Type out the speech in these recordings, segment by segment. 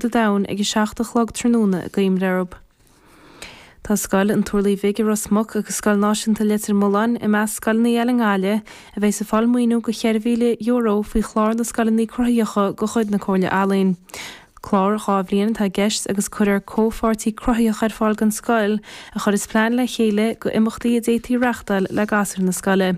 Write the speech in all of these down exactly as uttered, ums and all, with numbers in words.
an domhain ag a seacht a chlog tráthnóna i gCoimrearb. Tá scoil an Turlaigh Bhig i Ros Muc agus Scoil Náisiúnta Leitir Mealláin i measc scoileanna eile i nGaillimh a bheidh ag fáil maoiniú go cheithre mhíle euro faoi chlár na scoileanna cruthaitheacha de chuid na Comhairle Ealaíon. Clár dhá bhliain atá i gceist agus cuirfear comhpháirtí cruthaitheach ar fáil don scoil a chuirfeas plean le chéile go imeachtaí a d'fhéadfaí reáchtáil le gasúir na scoile.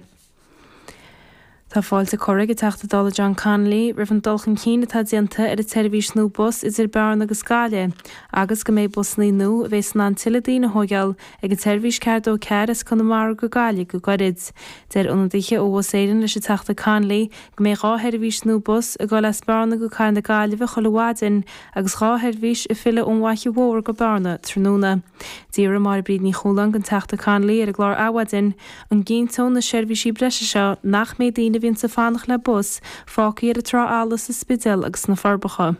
Tá fáilte curtha ag an Teachta Dála John Connolly roimh an dul chun cinn atá déanta ar an tseirbhís nua bus idir Bearna agus Gaillimh agus go mbeidh busanna nua a bheidh in ann tuilleadh daoine a thógáil ag an tseirbhís ceathair dó ceathair as Conamara go Gaillimh go gairid. Deir ionadaithe ó Bhus Éireann leis an Teachta Connolly go mbeidh dhá sheirbhís nua bus ag dul as Bearna go Cathair na Gaillimhe chuile mhaidin agus dhá sheirbhís ag filleadh ón bhFaiche Mhór go Bearna tráthnóna. D'fhiafraigh Máire Bríd Ní Chualáin den Teachta Connolly ar an gclár Adhmhaidin an gcinnteodh na seirbhísí breise seo nach mbeidh daoine a bhíonn ag fanacht le bus fágtha ar an trá fhalla sa Spidéal agus sna Forbacha.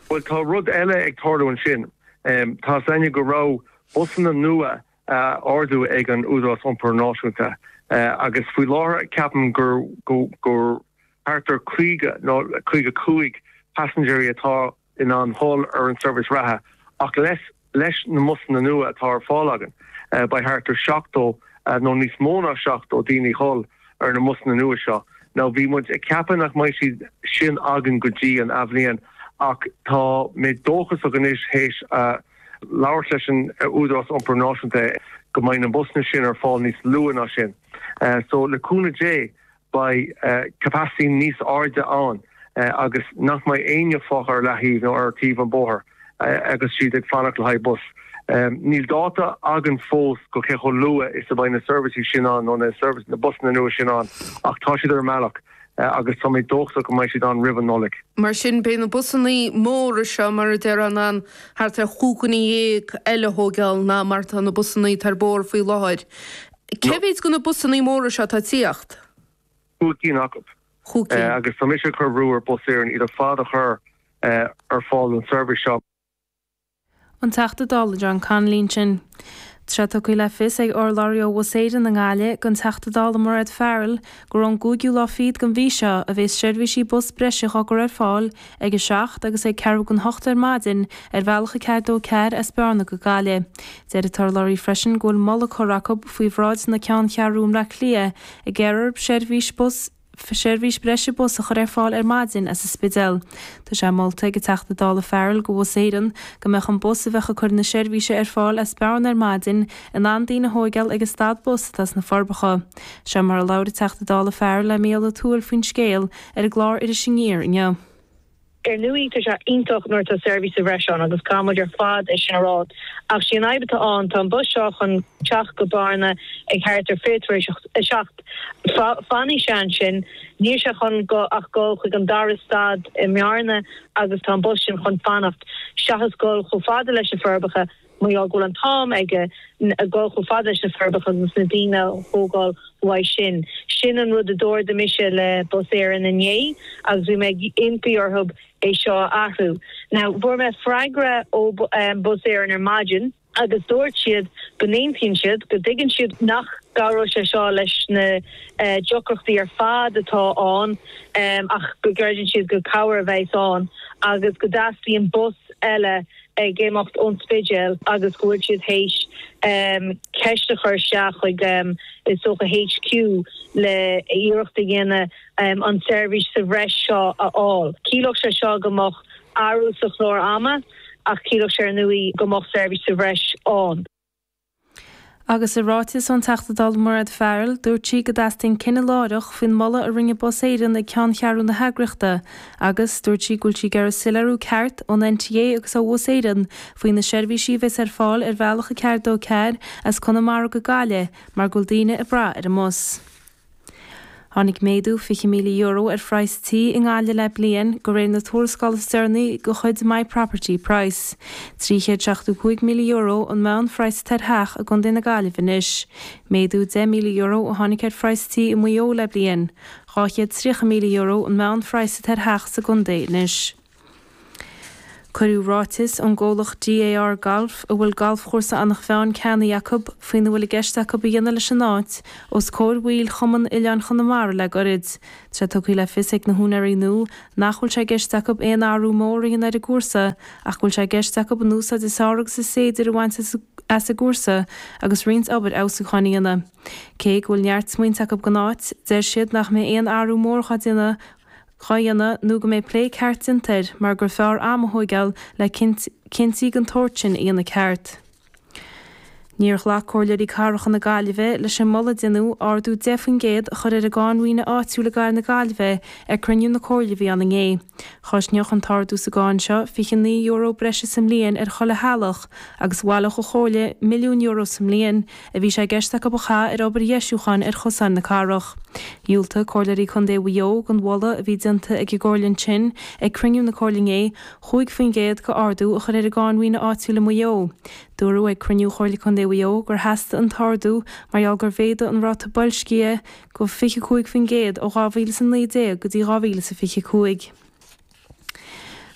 Well tá rud eile ag tarlú ansin. Um, tá a fhios againne go raibh busanna nua uh, ordú ag an Údarás Iompair Náisiúnta uh, agus faoi láthair ceapaim gur gur gur thart ar caoga nó caoga cúig paisinéirí atá in ann dul ar an service reatha ach leis leis na mbusanna nua atá ar fáil againn uh, beidh thart ar seachtó uh, nó níos mó ná seachtó daoine dhul ar na mbusanna nua seo. Now bhí muid ag ceapadh nach mbeidh siad sin againn go dtí an athbhliain ach tá mé dóchasach anois théis uh, labhairt leis an Údarás Iompair Náisiúnta go mbeidh na busanna sin ar fáil níos luaithe ná sin. Uh, so le cúnamh Dé beidh uh, capacity níos airde ann uh, agus nach mbeidh éinne fágtha ar leataobh nó ar taobh an bóthar uh, agus siad ag fanacht le haghaidh bus. Um, níl dáta againn fós go cé chomh luath is a bheidh na seirbhísí sin ann nó na service na busanna nua sin ann ach tá siad ar an mbealach uh, agus tá mé dóchasach go mbeidh siad ann roimh an Nollaig. Mar sin beidh na busanna móra seo mar a deir an an thart ar chúig dhuine dhéag eile a thógáil ná mar tá na busanna ar bord faoi láthair. Cé mhéad de na busanna móra seo atá ag tíocht? Cúig cinn acu. Cúig Uh, agus tá mise ag cur brú ar Bus Éireann iad ar fad a chur uh, ar fáil an service seo. An Teachta Dála John Connolly sin. Tá tugtha le fios ag urlabhraí ó Bhus Éireann i nGaillimh don Teachta Dála Mairéad Farrell gur ón gcúigiú lá fichead den mhí seo a bheas seirbhísí bus breise á gcur ar fáil ag a seacht agus ag ceathrú don hocht ar maidin ar bhealach a ceathair dó ceathair as Bearna go Gaillimh. Deir an t-urlabhraí freisin go bhfuil moladh curtha acu faoi bhráid na ceanncheathrún i mBaile Átha Cliath ag iarraidh seirbhís bus seirbhís breise bus a chur ar fáil ar maidin as an Spidéal. Tá sé molta ag an Teachta Dála Farrell do Bhus Éireann go mbeadh an bus a bheadh ag cur na seirbhíse ar fáil as Bearna ar maidin in ann daoine a thógáil ag an stad bus atá sna Forbacha. Seo mar a labhair an Teachta Dála Farrell le Mícheál Ó Tuathail faoin scéal ar an gclár Iris Aniar inniu. Ar ndóigh tá sé iontach nuair atá seirbhís sa bhreis ann agus caithfimid ar fad é sin a rá. Ach sí an fhadhb atá ann tá an bus seo chun teacht go Bearna ag thart ar fiche tar éis a seacht. Fanfaidh sé ansin níl sé chun go ach go chuig an dara stad i mBearna agus tá an bus sin chun fanacht seachas dul chomh fada leis na Forbacha mar go bhfuil an t-am aige dul chomh fada leis na Forbacha agus na daoine a thógáil uaidh sin. Sin an rud a d'ardaigh mise le Bus Éireann inné agus bhí mé ag impí orthu é seo a athrú. Now fuair mé freagra ó um, Bus Éireann ar maidin agus dúirt siad go n-aontaíonn siad go dtuigeann siad nach gcabhróidh sé seo leis na uh, deacrachtaí ar fad atá ann um, ach go gcreideann siad go cabhair a bheas ann agus go dteastaíonn bus eile ag imeacht ón Spidéal agus go bhfuil siad théis um, ceist a chur isteach chuig um, is dócha HQ le iarracht a dhéanamh um, an seirbhís sa bhreis seo a fháil. Ciallódh sé seo go mbeadh athrú sa chlár ama ach ciallódh sé ar ndóigh go mbeadh seirbhís sa bhreis ann. Agus i ráiteas ón Teachta Dála Mairéad Farrell, dúirt sí go dteastaíonn cinneadh láithreach faoin moladh a rinne Bus Éireann ag ceanncheathrú na heagraíochta, agus dúirt sí go bhfuil sí ag iarraidh soiléiriú ceart ón NTA agus ó Bhus Éireann faoi na seirbhísí a bheas ar fáil ar bhealach a ceathair dó ceathair as Conamara go Gaillimh mar go bhfuil daoine ag brath ar an mbus. Tháinig méadú fiche míle euro ar phraghas tí i nGaillimh le bliain de réir na tuarascála is deireanaí de chuid My Property Price. Trí chéad seachtó cúig míle euro an meánphraghas ar theach i gContae na Gaillimhe anois. Méadú deich míle euro a tháinig ar phraghas tí i Maigh Eo le bliain. Dhá chéad tríocha míle euro an meánphraghas ar theach sa gcontae anois. Cuireadh ráiteas ón gcomhlacht GAR Golf, a bhfuil galfchúrsa Eanach Mheáin ceannaithe acu, faoina bhfuil i gceist acu a dhéanamh leis an áit, os comhair bhaill Chumann Oileáin Chonamara le goirid. Tá sé tugtha le fios ag na húinéirí nua nach bhfuil sé i gceist acu aon athrú mór a dhéanamh ar an gcúrsa ach go bhfuil sé i gceist acu an úsáid is fearr agus is féidir a bhaint as an gcúrsa agus roinnt obair fheabhsúcháin a dhéanamh. Cé go bhfuil neart smaointe acu don áit, deir siad nach mbeidh aon athrú mór dhá déanamh dhá dhéanamh nó go mbeidh plé ceart déanta air mar gur fearr am a thóigeáil le cinntí den tsórt sin a dhéanamh ceart. Níor ghlac Comhairleoirí Cathracha na Gaillimhe leis an moladh a deineadh ardú deich faoin gcéad a chur ar an gcáin mhaoine áitiúil i gcathair na Gaillimhe ag cruinniú na Comhairle a bhí ann inné. Chosnódh an t-ardú sa gcáin seo fiche naoi euro breise sa mbliain ar chuile theaghlach agus bhaileodh an Chomhairle milliún euro sa mbliain a bhí sé i gceist acu a chaitheamh ar obair dheisiúcháin ar chosáin na cathrach. Dhiúltaigh Comhairleoirí Contae Mhaigh Eo don mholadh a bhí déanta ag an gComhairle ansin ag cruinniú na Comhairle inné chúig faoin gcéad d'ardú a chur ar an gcáin mhaoine áitiúil i Maigh Eo. Dúradh ag cruinniú Chomhairle Contae Mhaigh Eo gur theastaigh an t-ardú mar gheall gur mhéadaigh an ráta boilscithe go fiche cúig faoin gcéad ó dhá mhíle is a naoi déag go dtí dhá mhíle is a fiche cúig.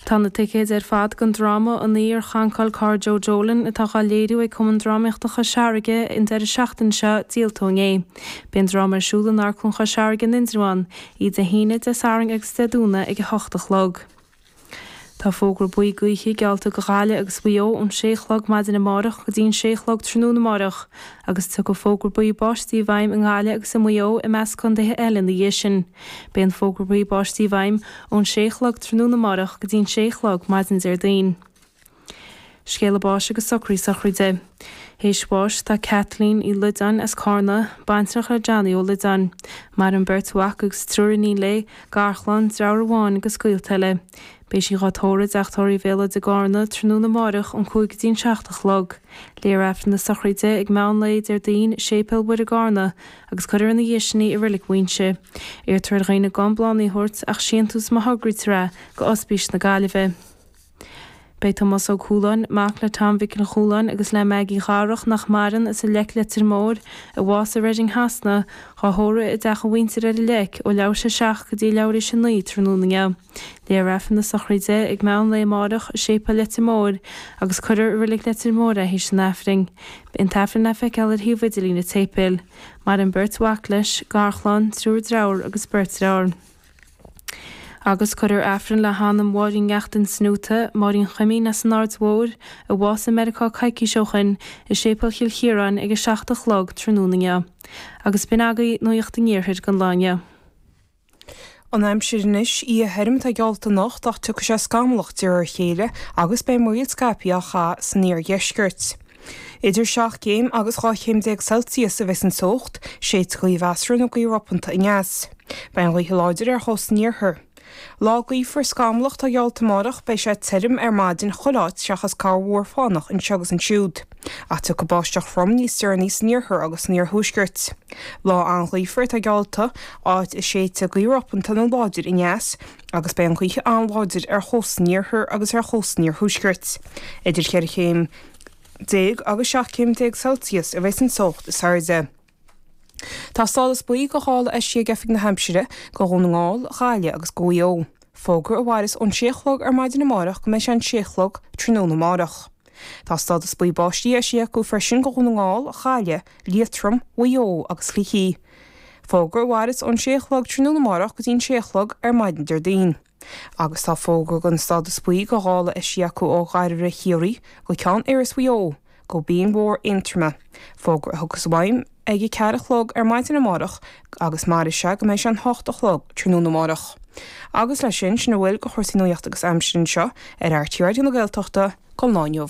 Tá na ticéid ar fad don dráma An Oíche Ar Chancáil Carr Joe Dolan atá dhá léiriú ag Cumann Drámaíochta Chois Fharraige an deireadh seachtaine seo díolta ó inné. Beidh an dráma ar siúl in Amharclann Chois Fharraige in Indreabhán, Dé hAoine, Dé Sathairn agus Dé Domhnaigh ag a hocht a chlog. Tá fógra buí gaoithe geallta do Ghaillimh agus Mhaigh Eo ón sé a chlog maidin amárach go dtí an sé a chlog tráthnóna amárach agus tiocfaidh fógra buí báistí i bhfeidhm i nGaillimh agus i Maigh Eo i measc contaetha eile ina dhiaidh sin. Beidh an fógra buí báistí i bhfeidhm ón sé a chlog tráthnóna amárach go dtí an sé a chlog maidin Déardaoin. Scéala báis agus socraí sochraide. Théis bháis tá Kathleen Uí Loideáin as Cárna, baintreach le Johnny Ó Loideáin. Maireann beirt mhac agus triúr iníon léi, garchlann, deartháir amháin agus gaolta eile. Beidh sí dhá tórramh i dTeach Tórraimh Bhéal Átha i gCárna tráthnóna amáireach ón cúig go dtí an seacht a chlog. Léifear Aifreann na sochraide ag meán lae Déardaoin i Séipéal Mhuire i gCárna agus cuirfear ina dhiaidh sin í i Reilig Mhuighinse. Iarrtar ar dhaoine gan bláthanna a thabhairt ach síntiús má thograítear é go Ospís na Gaillimhe. Beidh Tomás Ó Cualáin, mac le Tom Mhicil Chualáin agus le Maggie Dharach nach maireann as an Leic Leitir Móir, a bhásaigh i Reading Shasana, dhá thórramh i dteach a mhuintire ar an Leic ó leathuair tar éis a seacht go dtí leathuair tar éis a naoi tráthnóna inniu. Léifear Aifreann na sochraide ag meán lae amárach i Séipéal Leitir Móir agus cuirfear i Reilig Leitir Móir é théis an Aifrinn. Beidh an tAifreann le feiceáil ar shuíomh idirlín an tséipéil. Maireann beirt mhac leis, garchlann, triúr dearthár agus beirt deartháir. Agus cuirfear Aifreann le hanam Mháirín Neachtain Snúta, Máirín Chuimín as an Aird Mhóir, a bhásaigh i Meiriceá coicís ó shin, i Séipéal Chill Chiaráin ag a seacht a chlog tráthnóna inniu. Agus b'in agaibh Nuacht an Iarthair don lá inniu. An aimsir anois oíche thirim atá geallta anocht ach tiocfaidh sé scamallach de réir a chéile agus beidh murraíl scaipthe á chaitheamh san iardheisceart. Idir seacht gcéim agus dhá chéim déag Celsius a bheas an teocht, séidfidh gaoth mheasartha nó gaoth ropanta aneas. Beidh an ghaoth láidir ar chósta an iarthair. Lá gaofar scamallach atá geallta amárach, beidh sé tirim ar maidin chuile áit seachas corrmhúr fánach anseo agus ansiúd. Ach tiocfaidh báisteach throm níos deireanaí san iarthar agus san iarthuaisceart. Lá an-ghaofar atá geallta, áit a séidfidh gaoth ropanta nó láidir aneas, agus beidh an ghaoth an-láidir ar chósta an iarthair agus ar chósta an iarthuaiscirt. Idir cheithre chéim déag agus seacht céim déag Celsius a bheas an teocht is airde. Tá stádas buí de ghála eisithe ag Oifig na hAimsire do Dhún na nGall, Gaillimh agus do Mhaigh Eo. Fógra a mhairfeas ón sé a chlog ar maidin amárach go mbeidh sé an sé a chlog tráthnóna amárach. Tá stádas buí báistí eisithe acu freisin do Dhún na nGall, Gaillimh, Liatroim, Mhaigh Eo agus Shligigh. Fógra a mhairfeas ón sé a chlog tráthnóna amárach go dtí an sé a chlog ar maidin Déardaoin. Agus tá fógra den stádas buí de ghála eisithe acu ó Ghairbhre Chiarraí go Ceann Iorrais Mhaigh Eo, go Binn Mhór Aontroma. Fógra a thiocfas i bhfeidhm ag a ceathair a chlog ar maidin amárach agus mairfidh sé go mbeidh sé an hocht a chlog tráthnóna amárach. Agus leis sin, sin a bhfuil de chúrsaí nuachta agus aimsire anseo ar RTÉ Raidió na Gaeltachta don lá inniu.